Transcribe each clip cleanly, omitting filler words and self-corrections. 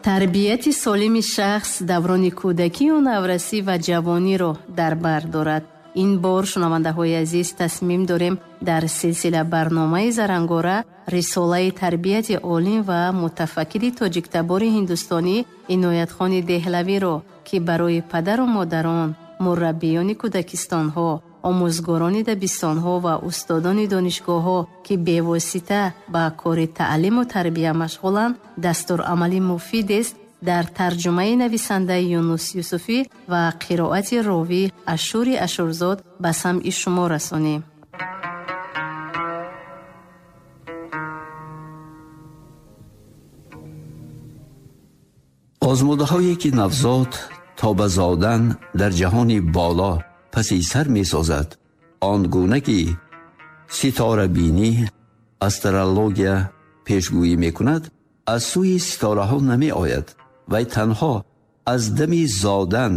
Тарбияти солими шахс даврони кӯдакию наврасӣ ва ҷавониро дар бар дорад. Ин бор, шунавандаҳои азиз, тасмим дорем дар силсила барномаи Зарангора рисолаи тарбияти олим ва мутафаккири тоҷиктабори ҳиндустонӣ Иноятхони Деҳлавиро, ки барои падару модарон, мураббиёни кӯдакистонҳо, омӯзгорони дабистонҳо ва устодони донишгоҳҳо, ки бевосита ба кори таълиму тарбия машғуланд, дастурамали муфидест, дар тарҷумаи нависандаи Юнус Юсуфӣ ва қироати ровӣ Ашури Ашурзод ба самъи шумо расонем. Озмудаҳое ки навзод то ба зодан дар ҷаҳони боло паси сар месозад, он гуна ки ситорабинӣ, астрология пешгӯӣ мекунад, аз сӯи ситораҳо намеояд. Вай танҳо аз дами зодан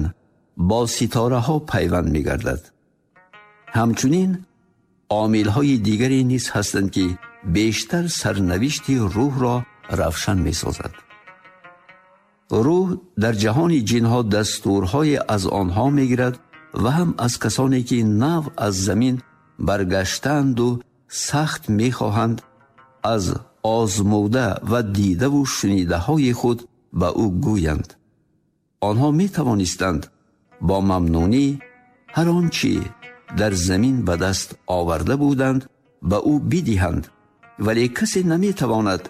бо ситораҳо пайванд мегардад. Ҳамчунин омилҳои дигаре низ ҳастанд, ки бештар сарнавишти рӯҳро равшан месозад. Рӯҳ дар ҷаҳони ҷинҳо дастурҳое аз онҳо мегирад ва ҳам аз касоне ки нав аз замин баргаштаанду сахт мехоҳанд аз озмуда ва дидаву шунидаҳои худ ба ӯ гӯянд. Онҳо метавонистанд бо мамнунӣ ҳар он чӣ дар замин ба даст оварда буданд ба ӯ бидиҳанд, вале касе наметавонад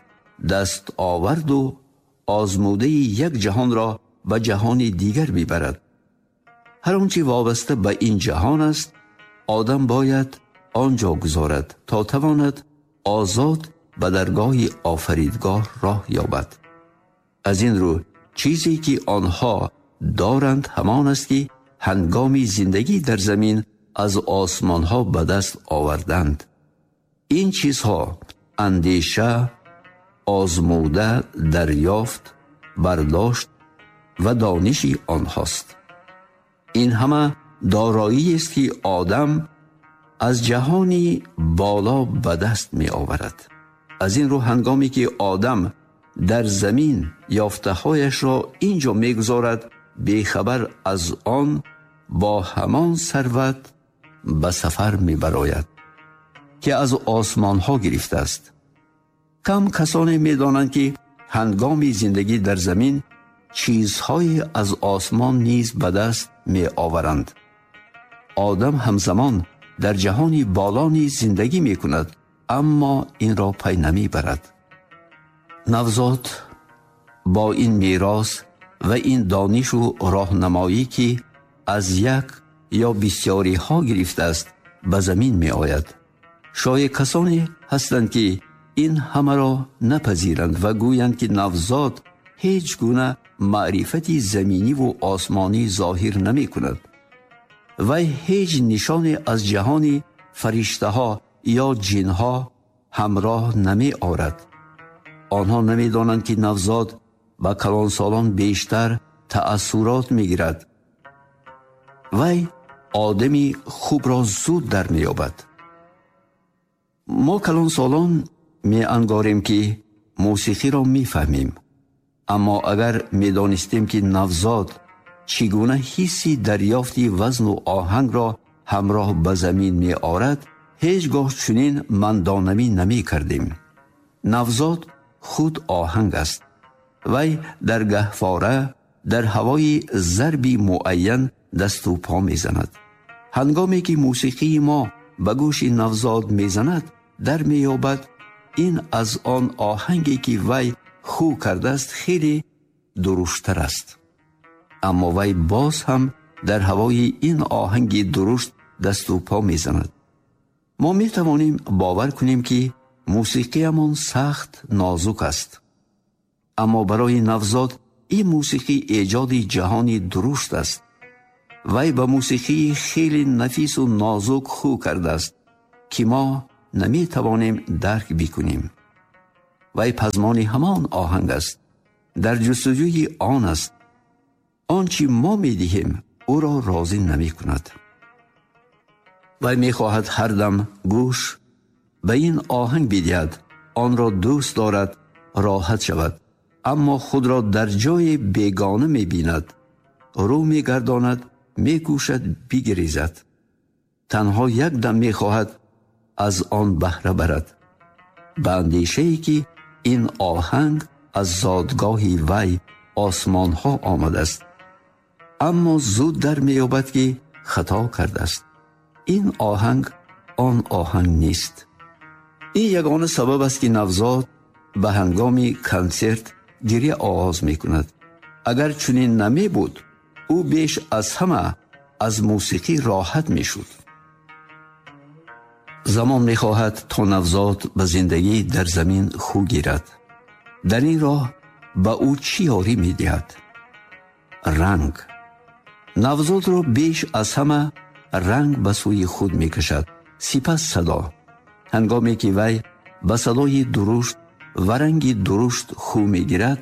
дастоварду озмудаи як ҷаҳонро ба ҷаҳони дигар бибарад. Ҳар он чӣ вобаста ба ин ҷаҳон аст, одам бояд он ҷо гузорад то тавонад озод ба даргоҳи офаридгор роҳ ёбад. Аз ин рӯ чизе ки онҳо доранд ҳамон аст ки ҳангоми зиндагӣ дар замин аз осмонҳо ба даст оварданд. Ин чизҳо андеша, озмуда, дарёфт, бардошт ва дониши онҳост. Ин ҳама дороиест ки одам аз ҷаҳони боло ба даст меоварад. Аз ин рӯ ҳангоме ки одам дар замин ёфтаҳояшро ин ҷо мегузорад, бехабар аз он бо ҳамон сарват ба сафар мебарояд, ки аз осмонҳо гирифтааст. Кам касоне медонанд, ки ҳангоми зиндагӣ дар замин чизҳое аз осмон низ ба даст меоваранд. Одам ҳамзамон дар ҷаҳони боло низ зиндагӣ мекунад, аммо инро пай намебарад. Навзод бо ин мерос ва ин донишу роҳнамоӣ, ки аз як ё бисёриҳо гирифтааст, ба замин меояд. Шояд касоне ҳастанд, ки ин ҳамаро напазиранд ва гӯянд, ки навзод ҳеҷ гуна маърифати заминиву осмонӣ зоҳир намекунад. Вай ҳеҷ нишоне аз ҷаҳони фариштаҳо ё ҷинҳо ҳамроҳ намеорад. Онҳо намедонанд, ки навзод ба калонсолон бештар таассурот мегирад. Вай одами хубро зуд дар меёбад. Мо калонсолон меангорем, ки мусиқиро мефаҳмем, аммо агар медонистем, ки навзод чӣ гуна ҳисси дарёфти вазну оҳангро ҳамроҳ ба замин меорад, ҳеҷ гоҳ чунин мандонамӣ намекардем. Навзод худ оҳанг аст. Вай дар гаҳвора дар ҳавои зарби муайян дасту по мезанад. Ҳангоме ки мусиқии мо ба гӯши навзод мезанад, дар меёбад ин аз он оҳанге ки вай хӯ кардааст хеле дуруштар аст. Аммо вай боз ҳам дар ҳавои ин оҳанги дурушт дасту по мезанад. Мо метавонем бовар кунем, ки мусиқиямон сахт нозук аст, аммо барои навзод ин мусиқӣ эҷоди ҷаҳони дурушт аст. Вай ба мусиқии хеле нафису нозук хӯ кардааст, ки мо наметавонем дарк бикунем. Вай пазмони ҳамон оҳанг аст, дар ҷустуҷӯи он аст. Он чӣ мо медиҳем, ӯро розӣ намекунад. Вай мехоҳад ҳар дам гӯш ба ин оҳанг бидиҳад, онро дӯст дорад, роҳат шавад. аммо худро дар ҷои бегона мебинад, рӯ мегардонад, мекӯшад бигрезад. Танҳо як дам мехоҳад аз он баҳра барад, ба андешае ки ин оҳанг аз зодгоҳи вай осмонҳо омадааст. Аммо зуд дар меёбад ки хато кардааст. Ин оҳанг он оҳанг нест. Ин ягона сабаб аст ки навзод ба ҳангоми консерт гиря оғоз мекунад. Агар чунин намебуд, ӯ беш аз ҳама аз мусиқӣ роҳат мешуд. Замон мехоҳад то навзод ба зиндагӣ дар замин хӯ гирад. Дар ин роҳ ба ӯ чӣ ёрӣ медиҳад? Ранг. Навзодро беш аз ҳама ранг ба сӯи худ мекашад, сипас садо. Ҳангоме ки вай ба садои дурушт ва ранги дурушт хӯ мегирад,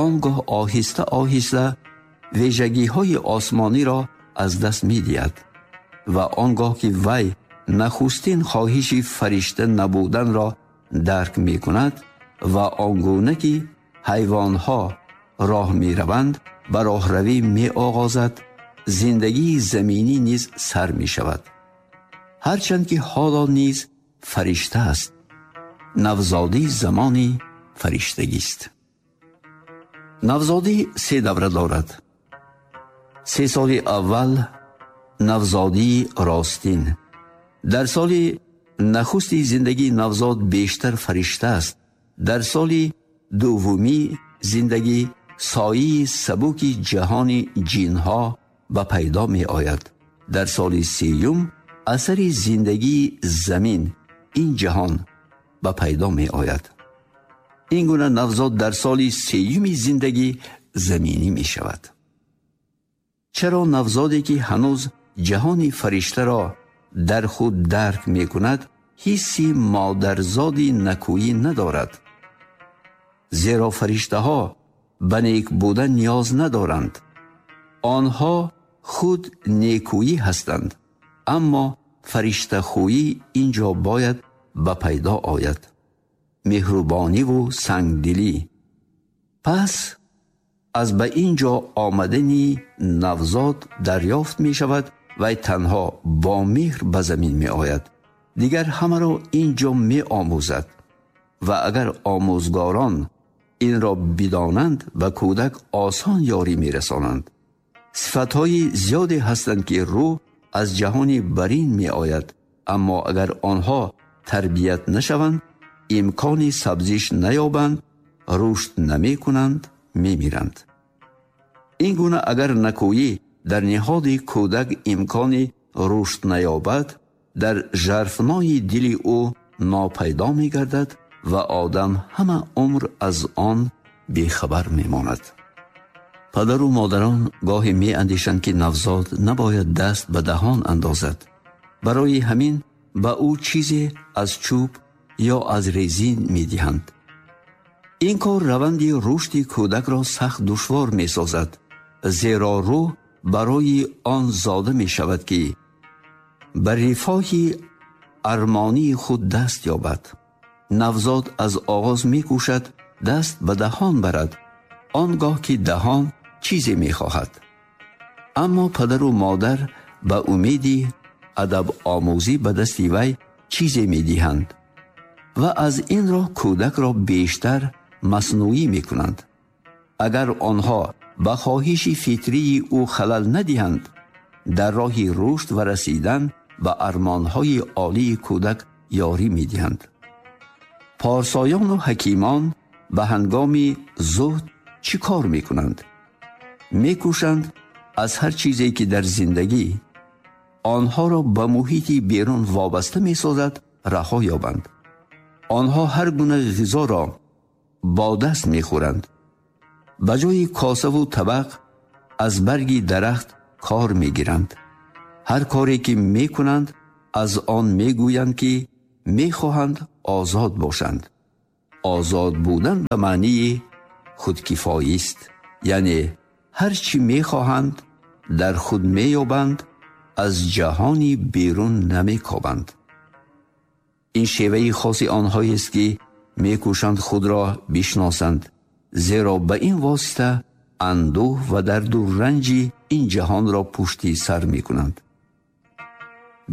он гоҳ оҳиста оҳиста вижагиҳои осмониро аз даст медиҳад ва он гоҳ ки вай нахустин хоҳиши фаришта набуданро дарк мекунад ва он гуна ки ҳайвонҳо роҳ мераванд ба роҳравӣ меоғозад, зиндагии заминӣ низ сар мешавад. Ҳарчанд ки ҳоло низ фаришта аст, навзодӣ замони фариштагист. Навзодӣ се давра дорад. 3 соли аввал навзодии ростин. Дар соли нахусти зиндагии навзод бештар фаришта аст. Дар соли дуввуми зиндагӣ сояи сабуки ҷаҳони ҷинҳо ба пайдо меояд. Дар соли сеюм асари зиндагии замин, ин ҷаҳон, ба пайдо меояд. Ин гуна навзод дар соли сеюми зиндагӣ заминӣ мешавад. Чаро навзоде ки ҳанӯз ҷаҳони фариштаро дар худ дарк мекунад, ҳисси модарзоди накӯӣ надорад? Зеро фариштаҳо ба нек будан ниёз надоранд. Онҳо худ некӯӣ ҳастанд, аммо фариштахӯӣ инҷо бояд ба пайдо ояд. Меҳрубониву сангдилӣ. Пас аз ба инҷо омадани навзод дарёфт мешавад, вай танҳо бо меҳр ба замин меояд. Дигар ҳамаро инҷо меомӯзад ва агар омӯзгорон инро бидонанд, ба кӯдак осон ёрӣ мерасонанд. Сифатҳои зиёде ҳастанд ки рӯҳ аз ҷаҳони барин меояд, аммо агар онҳо тарбият нашаванд, имкони сабзиш наёбанд, рушд намекунанд, мемиранд. Ин гуна агар накӯӣ дар ниҳоди кӯдак имкони рушд наёбад, дар жарфнои дили ӯ нопайдо мегардад ва одам ҳама умр аз он бехабар мемонад. Падару модарон гоҳе меандешанд ки навзод набояд даст ба даҳон андозад. Барои ҳамин ба ӯ чизе аз чӯб ё аз резин медиҳанд. Ин кор раванди рушди кӯдакро сахт душвор месозад, зеро рӯҳ барои он зода мешавад ки ба рифоҳи армонии худ даст ёбад. Навзод аз оғоз мекӯшад даст ба даҳон барад, он гоҳ ки даҳон чизе мехоҳад. Аммо падару модар ба умеди адаб омӯзӣ ба дасти вай чизе медиҳанд ва аз ин роҳ кӯдакро бештар маснуӣ мекунанд. Агар онҳо ба хоҳиши фитрии ӯ халал надиҳанд, дар роҳи рушд ва расидан ба армонҳои олии кӯдак ёрӣ медиҳанд. Порсоёну ҳакимон ба ҳангоми зуҳд чӣ кор мекунанд? Мекӯшанд аз ҳар чизе ки дар зиндагӣ онҳоро ба муҳити берун вобаста месозад раҳо ёбанд. Онҳо ҳар гуна ғизоро бо даст мехӯранд. Ба ҷои косаву табақ аз барги дарахт кор мегиранд. Ҳар коре ки мекунанд аз он мегӯянд ки мехоҳанд озод бошанд. Озод будан ба маънии худкифоист, яъне ҳар чӣ мехоҳанд дар худ меёбанд, аз ҷаҳони берун намекобанд. Ин шеваи хоси онҳоест ки мекӯшанд худро бишносанд. зеро ба ин восита андӯҳ ва дарду ранҷи ин ҷаҳонро пушти сар мекунанд.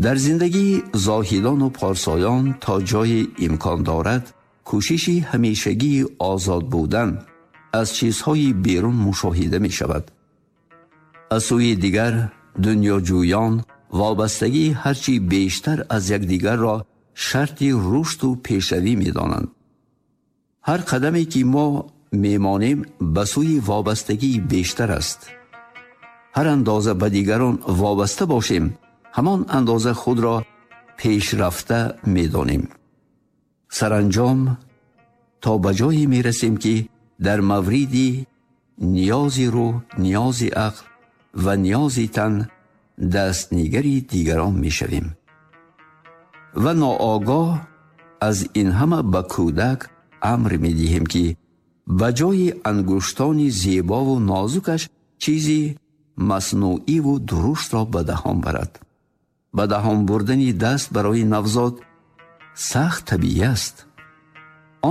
Дар зиндагии зоҳидону порсоён то ҷое имкон дорад, кӯшиши ҳамешагии озод будан аз чизҳои берун мушоҳида мешавад. Аз сӯи дигар, дунёҷӯён вобастагии ҳарчи бештар аз якдигарро шарти рушду пешравӣ медонанд. Ҳар қадаме ки мо мемонем ба сӯи вобастагии бештар аст. Ҳар андоза ба дигарон вобаста бошем, ҳамон андоза худро пешрафта медонем. Саранҷом то ба ҷое мерасем, ки дар мавриди ниёзи рӯҳ, ниёзи ақл ва ниёзи тан дастнигари дигарон мешавем. Ва ноогоҳ аз ин ҳама ба кӯдак амр медиҳем, ки ба ҷои ангуштони зебову нозукаш чизи маснуиву дуруштро ба даҳон барад. Ба даҳон бурдани даст барои навзод сахт табиӣ аст.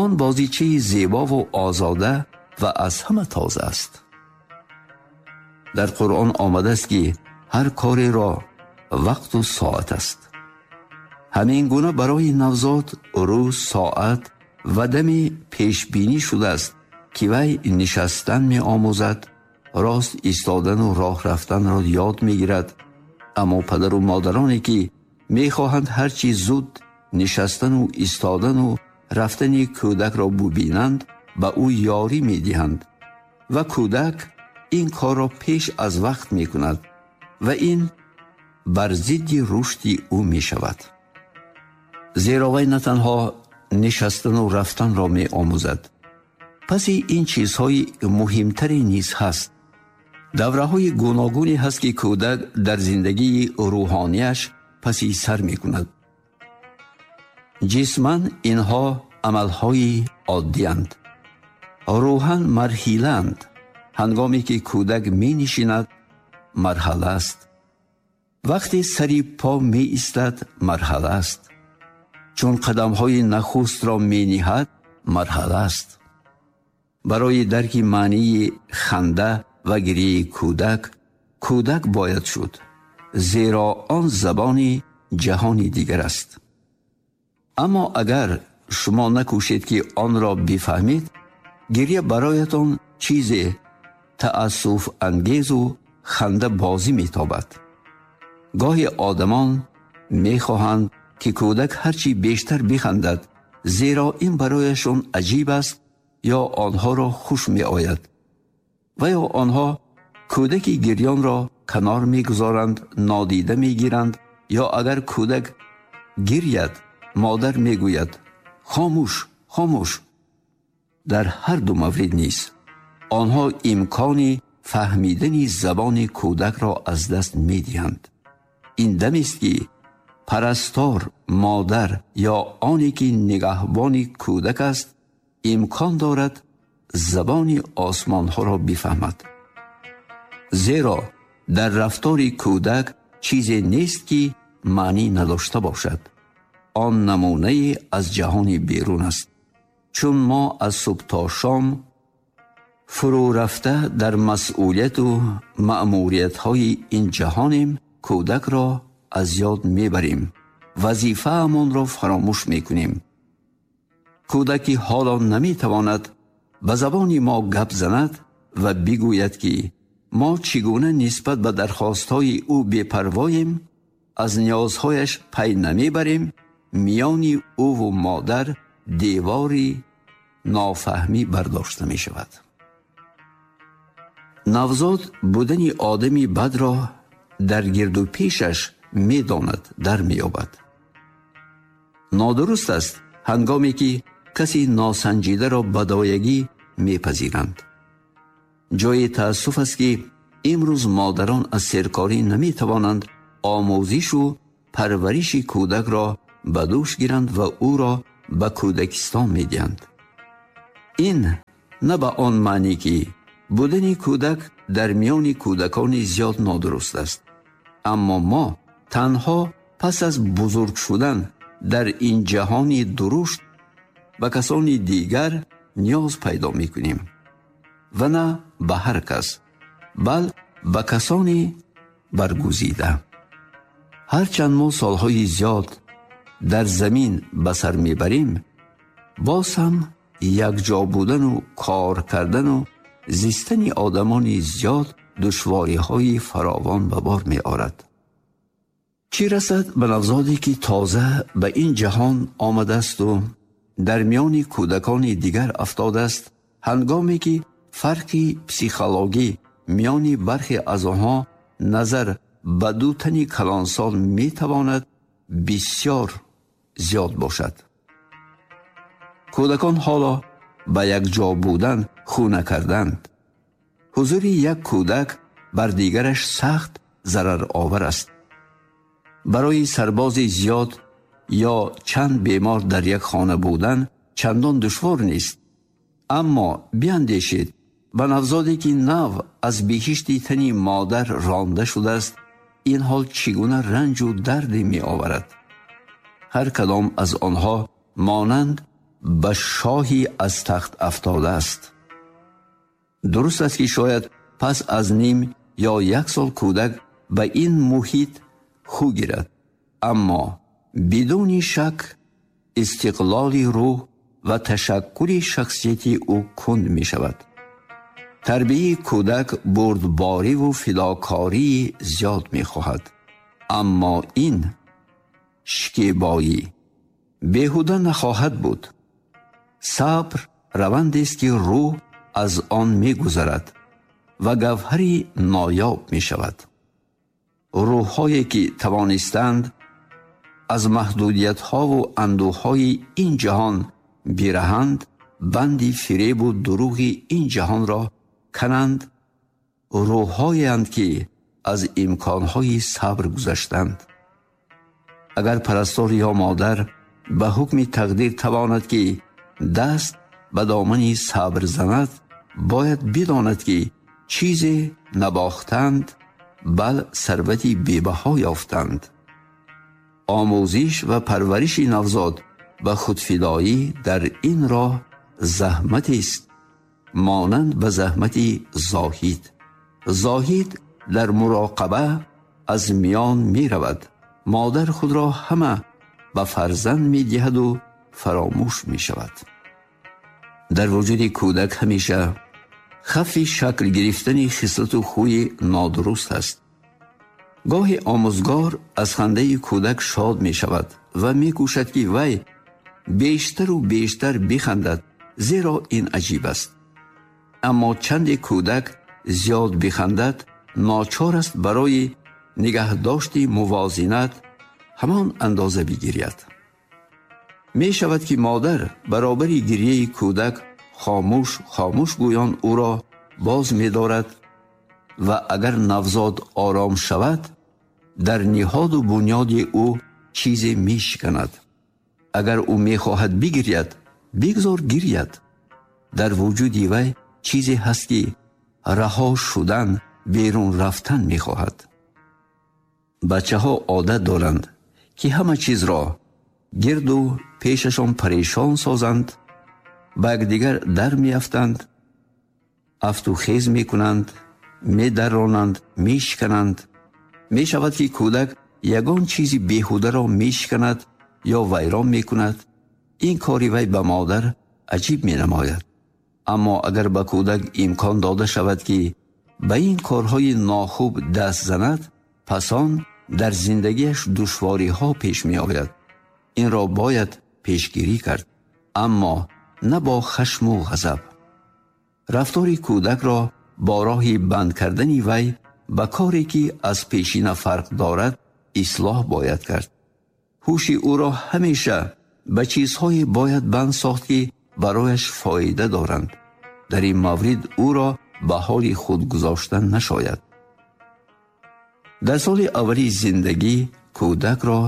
Он бозичаи зебову озода ва аз ҳама тоза аст. Дар Қуръон омадааст, ки ҳар кореро вақту соат аст. Ҳамин гуна барои навзод рӯз, соат ва дами пешбинӣ шудааст, ки вай нишастан меомӯзад, рост истодану роҳ рафтанро ёд мегирад. Аммо падару модароне ки мехоҳанд ҳарчи зуд нишастану истодану рафтани кӯдакро бубинанд, ба ӯ ёрӣ медиҳанд ва кӯдак ин корро пеш аз вақт мекунад ва ин бар зидди рушди ӯ мешавад. Зеро вай на танҳо нишастану рафтанро меомӯзад, паси ин чизҳои муҳимтаре низ ҳаст. Давраҳои гуногуне ҳаст, ки кӯдак дар зиндагии рӯҳонияш паси сар мекунад. Ҷисман инҳо амалҳои оддианд, рӯҳан марҳилаанд. Ҳангоме ки кӯдак менишинад, марҳала аст. Вақте сари по меистад, марҳала аст. Чун қадамҳои нахустро мениҳад, марҳала аст. Барои дарки маънии ханда ва гирияи кӯдак, кӯдак бояд шуд, зеро он забони ҷаҳони дигар аст. Аммо агар шумо накӯшед, ки онро бифаҳмед, гирия бароятон чизе таассуфангезу ханда бозӣ метобад. Гоҳе одамон мехоҳанд, ки кӯдак ҳарчи бештар бихандад, зеро ин барояшон аҷиб аст ё онҳоро хуш меояд. Ва ё онҳо кӯдаки гирёнро канор мегузоранд, нодида мегиранд, ё агар кӯдак гиряд, модар мегӯяд: хомӯш, хомӯш. Дар ҳар ду маврид низ онҳо имкони фаҳмидани забони кӯдакро аз даст медиҳанд. Ин дамест, ки парастор, модар ё оне ки нигаҳбони кӯдак аст, имкон дорад забони осмонҳоро бифаҳмад. Зеро дар рафтори кӯдак чизе нест, ки маънӣ надошта бошад. Он намунае аз ҷаҳони берун аст. Чун мо аз субҳ то шом фурӯ рафта дар масъулияту маъмуриятҳои ин ҷаҳонем, кӯдакро аз ёд мебарем, вазифаамонро фаромӯш мекунем. Кӯдаки ҳоло наметавонад ба забони мо гап занад ва бигӯяд, ки мо чӣ гуна нисбат ба дархостҳои ӯ бепарвоем, аз ниёзҳояш пай намебарем, миёни ӯву модар девори нофаҳмӣ бардошта мешавад. Навзод будани одами бадро дар гирду пешаш медонад, дар меёбад. Нодуруст аст ҳангоме ки каси носанҷидаро ба доягӣ мепазиранд. Ҷои таассуф аст, ки имрӯз модарон аз серкорӣ наметавонанд омӯзишу парвариши кӯдакро ба дӯш гиранд ва ӯро ба кӯдакистон медиҳанд. Ин на ба он маънӣ, ки будани кӯдак дар миёни кӯдакони зиёд нодуруст аст, аммо мо танҳо пас аз бузург шудан дар ин ҷаҳони дурушт ба касони дигар ниёз пайдо мекунем. ва на ба ҳар кас, бал ба касони баргузида. Ҳарчанд мо солҳои зиёд дар замин ба сар мебарем, боз ҳам якҷо будану кор кардану зистани одамони зиёд душвориҳои фаровон ба бор меорад. Чӣ расад ба навзоде ки тоза ба ин ҷаҳон омадаасту дар миёни кӯдакони дигар афтодааст, ҳангоме ки фарқи психологӣ миёни бархе аз онҳо назар ба ду тани калонсол метавонад бисёр зиёд бошад. Кӯдакон ҳоло ба якҷо будан хӯ накарданд. Ҳузури як кӯдак бар дигараш сахт зараровар аст. Барои сарбози зиёд ё чанд бемор дар як хона будан чандон душвор нест. Аммо биандешед ба навзоде ки нав аз биҳишти тани модар ронда шудааст, ин ҳол чӣ гуна ранҷу дарде меоварад. Ҳар кадом аз онҳо монанд ба шоҳи аз тахт афтодааст. Дуруст аст ки шояд пас аз ним ё як сол кӯдак ба ин муҳит хӯ гирад, аммо бидуни шак истиқлоли рӯҳ ва ташаккули шахсияти ӯ кунд мешавад. Тарбияи кӯдак бурдбориву фидокории зиёд мехоҳад, аммо ин шикебоӣ беҳуда нахоҳад буд. Сабр равандест ки рӯҳ аз он мегузарад ва гавҳари ноёб мешавад. Рӯҳҳое ки тавонистанд аз маҳдудиятҳову андӯҳҳои ин ҷаҳон бираҳанд, банди фиребу дурӯғи ин ҷаҳонро кананд, рӯҳҳоеанд ки аз имконҳои сабр гузаштанд. Агар парастор ё модар ба ҳукми тақдир тавонад ки даст ба домани сабр занад, бояд бидонад ки чизе набохтанд, бал сарвати бебаҳо ёфтанд. Омӯзиш ва парвариши навзод ба худфидоӣ дар ин роҳ заҳматест монанд ба заҳмати зоҳид. Зоҳид дар муроқаба аз миён меравад. Модар худро ҳама ба фарзанд медиҳаду фаромӯш мешавад. Дар вуҷуди кӯдак ҳамеша хафи шакл гирифтани хислату хӯи нодуруст аст. Гоҳе омӯзгор аз хандаи кӯдак шод мешавад ва мекӯшад ки вай бештару бештар бихандад, зеро ин аҷиб аст. Аммо чанде кӯдак зиёд бихандад, ночор аст барои нигаҳдошти мувозинат ҳамон андоза бигиряд. Мешавад ки модар баробари гирияи кӯдак хомӯш хомӯш гӯён ӯро боз медорад ва агар навзод ором шавад, дар ниҳоду бунёди ӯ чизе мешиканад. Агар ӯ мехоҳад бигиряд, бигзор гиряд. Дар вуҷуди вай чизе ҳаст ки раҳо шудан, берун рафтан мехоҳад. Бачаҳо одат доранд ки ҳама чизро гирду пешашон парешон созанд, ба якдигар дар меафтанд, афту хез мекунанд, медаронанд, мешикананд. Мешавад ки кӯдак ягон чизи беҳударо мешиканад ё вайрон мекунад. Ин кори вай ба модар аҷиб менамояд. Аммо агар ба кӯдак имкон дода шавад ки ба ин корҳои нохуб даст занад, пас он дар зиндагиаш душвориҳо пеш меояд. Инро бояд пешгирӣ кард, аммо на бо хашму ғазаб. Рафтори кӯдакро бо роҳи банд кардани вай ба коре ки аз пешина фарқ дорад ислоҳ бояд кард. Ҳуши ӯро ҳамеша ба чизҳое бояд банд сохт ки барояш фоида доранд. Дар ин маврид ӯро ба ҳоли худ гузоштан нашояд. Дар соли аввали зиндагӣ кӯдакро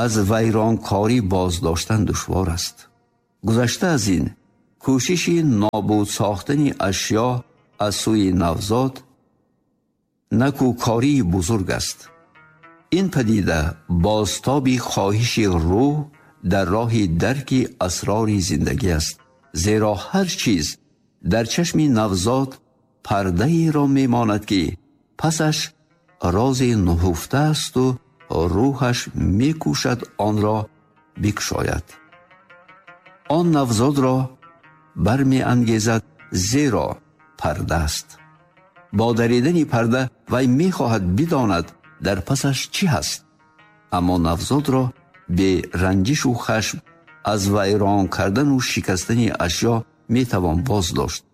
аз вайронкорӣ боздоштан душвор аст. Гузашта аз ин, кӯшиши нобуд сохтани ашё аз сӯи навзод накӯкории бузург аст. Ин падида бозтоби хоҳиши рӯҳ дар роҳи дарки асрори зиндагӣ аст, зеро ҳар чиз Дар чашми навзод пардаеро мемонад, ки пасаш розе нуҳуфта асту рӯҳаш мекӯшад онро бикушояд. Он навзодро бармеангезад, зеро парда аст. Бо даридани парда вай мехоҳад бидонад дар пасаш чӣ ҳаст. Аммо навзодро бе ранҷишу хашм аз вайрон кардану шикастани ашё метавон боз дошт.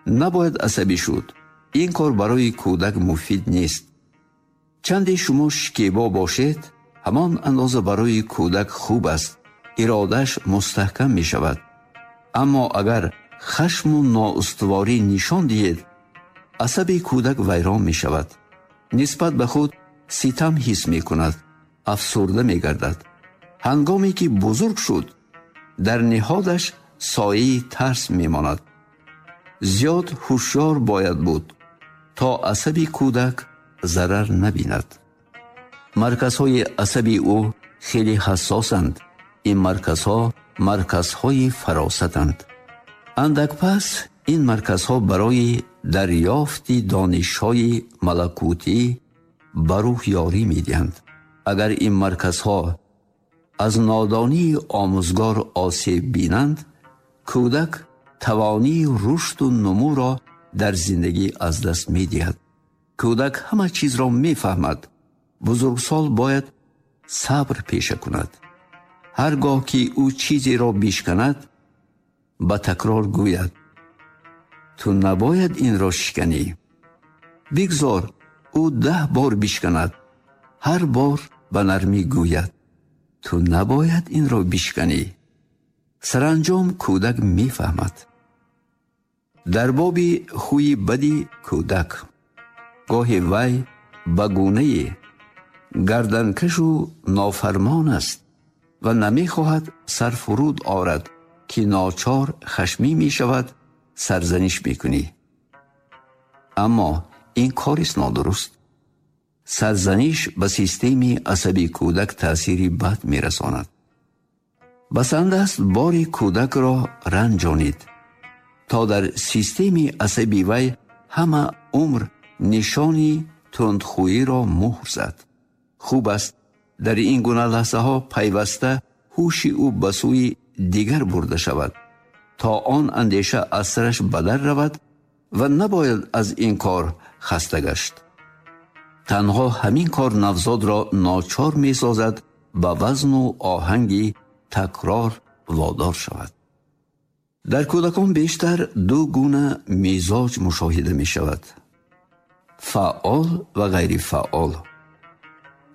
Набояд асабӣ шуд. Ин кор барои кӯдак муфид нест. Чанде шумо шикебо бошед, ҳамон андоза барои кӯдак хуб аст, иродааш мустаҳкам мешавад. Аммо агар хашму ноустуворӣ нишон диҳед, асаби кӯдак вайрон мешавад. Нисбат ба худ ситам ҳис мекунад, афсурда мегардад. Ҳангоме ки бузург шуд, дар ниҳодаш сояи тарс мемонад. Зиёд ҳушёр бояд буд, то асаби кӯдак зарар набинад. Марказҳои асаби ӯ хеле ҳассосанд. Ин марказҳо марказҳои фаросатанд. Андак пас ин марказҳо барои дарёфти донишҳои малакутӣ ба рӯҳ ёрӣ медиҳанд. Агар ин марказҳо аз нодонии омӯзгор осеб бинанд, кӯдак тавонии рушду нумӯро дар зиндагӣ аз даст медиҳад. Кӯдак ҳама чизро мефаҳмад. Бузургсол бояд сабр пеша кунад. Ҳар гоҳ ки ӯ чизеро бишканад, ба такрор гӯяд: ту набояд инро шиканӣ. Бигзор ӯ 10 бор бишканад, ҳар бор ба нармӣ гӯяд: ту набояд инро бишканӣ. Саранҷом кӯдак мефаҳмад. Дар боби хӯи бади кӯдак гоҳе вай ба гунае гарданкашу нофармон аст ва намехоҳад сарфуруд орад, ки ночор хашмӣ мешавад, сарзаниш мекунӣ. Аммо ин корист нодуруст. Сарзаниш ба системаи асаби кӯдак таъсири бад мерасонад. Басанда аст бори кӯдакро ранҷонид, то дар системаи асаби вай ҳама умр нишони тундхӯиро муҳр зад. Хуб аст дар ин гуна лаҳзаҳо пайваста ҳуши ӯ ба сӯи дигар бурда шавад, то он андеша аз сараш ба дар равад ва набояд аз ин кор хаста гашт. Танҳо ҳамин кор навзодро ночор месозад ба вазну оҳанги такрор водор шавад. Дар кӯдакон бештар ду гуна мизоҷ мушоҳида мешавад: фаъол ва ғайрифаъол.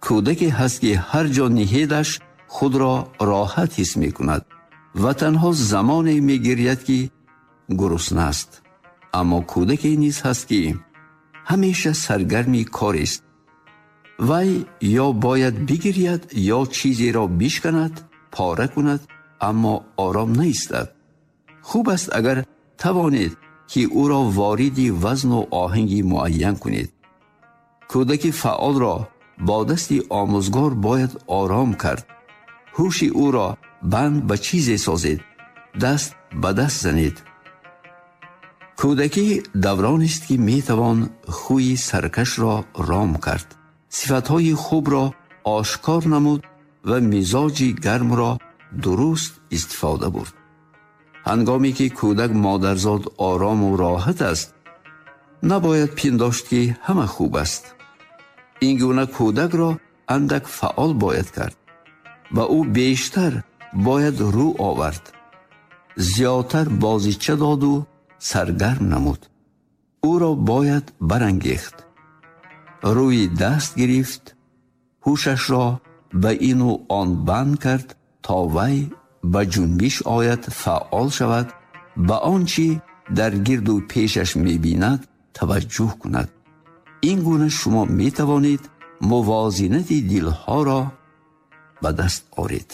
Кӯдаке ҳаст, ки ҳар ҷо ниҳедаш худро роҳат ҳис мекунад ва танҳо замоне мегиряд, ки гурусна аст. Аммо кӯдаке низ ҳаст, ки ҳамеша саргарми корист. Вай ё бояд бигиряд, ё чизеро бишканад, пора кунад, аммо ором наистад. Хуб аст агар тавонед, ки ӯро вориди вазну оҳанги муайян кунед. Кӯдаки фаъолро бо дасти омӯзгор бояд ором кард. Ҳуши ӯро банд ба чизе созед, даст ба даст занед. Кӯдакӣ давронест, ки метавон хӯи саркашро ром кард, сифатҳои хубро ошкор намуд ва мизоҷи гармро дуруст истифода бурд. Ҳангоме ки кӯдак модарзод орому роҳат аст, набояд пиндошт, ки ҳама хуб аст. Ин гуна кӯдакро андак фаъол бояд кард. Ба ӯ бештар бояд рӯ овард, зиёдтар бозича доду саргарм намуд. Ӯро бояд барангехт, рӯи даст гирифт, ҳушашро ба ину он банд кард, то вай ба ҷунбиш ояд, фаъол шавад, ба он чӣ дар гирду пешаш мебинад таваҷҷӯҳ кунад. Ин гуна шумо метавонед мувозинати дилҳоро ба даст оред.